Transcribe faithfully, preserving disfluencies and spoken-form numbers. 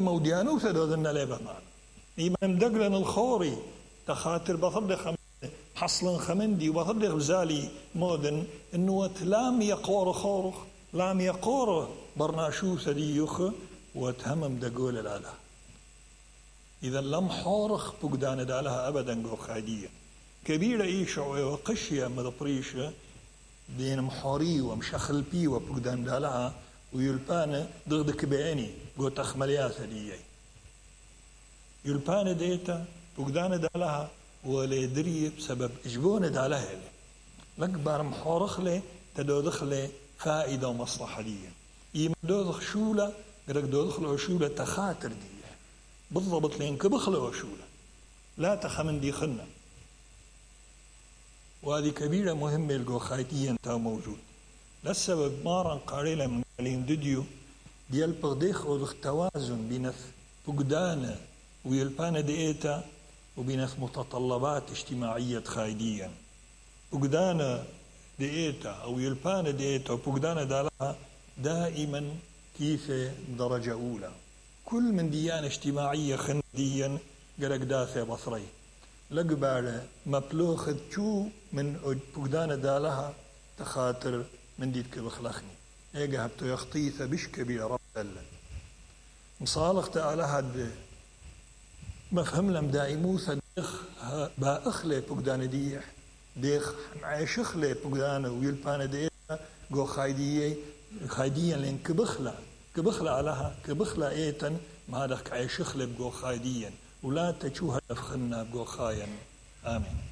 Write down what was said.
موديانو سدودنا لبمان إيمان دقلن الخوري تخاطر بطرد حصلن خمندي وبطرد غزالي مودن إنه لام يقور خورخ لام يقور برناشو سديوخ وتهمم دقول الآله إذا لم حورخ بقدان دالها أبدا قو خادية كبيرة إيشعوة وقشية مدبريشة دين محوري ومشخل بي وبقدان دالها ويلبان ضغدك بعيني قو تخمليات دي يلبان ديتا بقدان دالها ولا يدري بسبب إجبون دالها لكبار محورخ لي تدودخ لي فائدة ومصلحة دي إيما دودخ شولة قرق دودخ له شولة تخاطر دي بالضبط لين كبخلة وشولة لا تخمن دي خلنا وهذه كبيرة مهمة الجو خايتيا تا موجود للسبب مارا قاريلا من قالين ديديو ديال بغديخ ودخ توازن بين فقدان ويلبان ديتا وبين متطلبات اجتماعية خايديا فقدان ديتا أو يلبان ديتا وفقدان دالها دائما كيف درجة أولى كل من ديانة اجتماعية خنديا قرق دافع بصري لقبال مبلوخ تشو من فقدان دالها تخاطر من ديتك بخلخني ايقا هبتو يخطيث بشكبي رب الله مصالح تعالى هاد مفهم لم دائموثا ديخ با اخلي فقدان ديح ديخ عايش اخلي فقدان ويلبان ديح قو خايدية خايديا لين كبخلا كبخلا علىها كبخلا ايتن ما هذاك عايش اخلي بقو خايديا ولا تشو هدف خلنا بقو خاين آمين.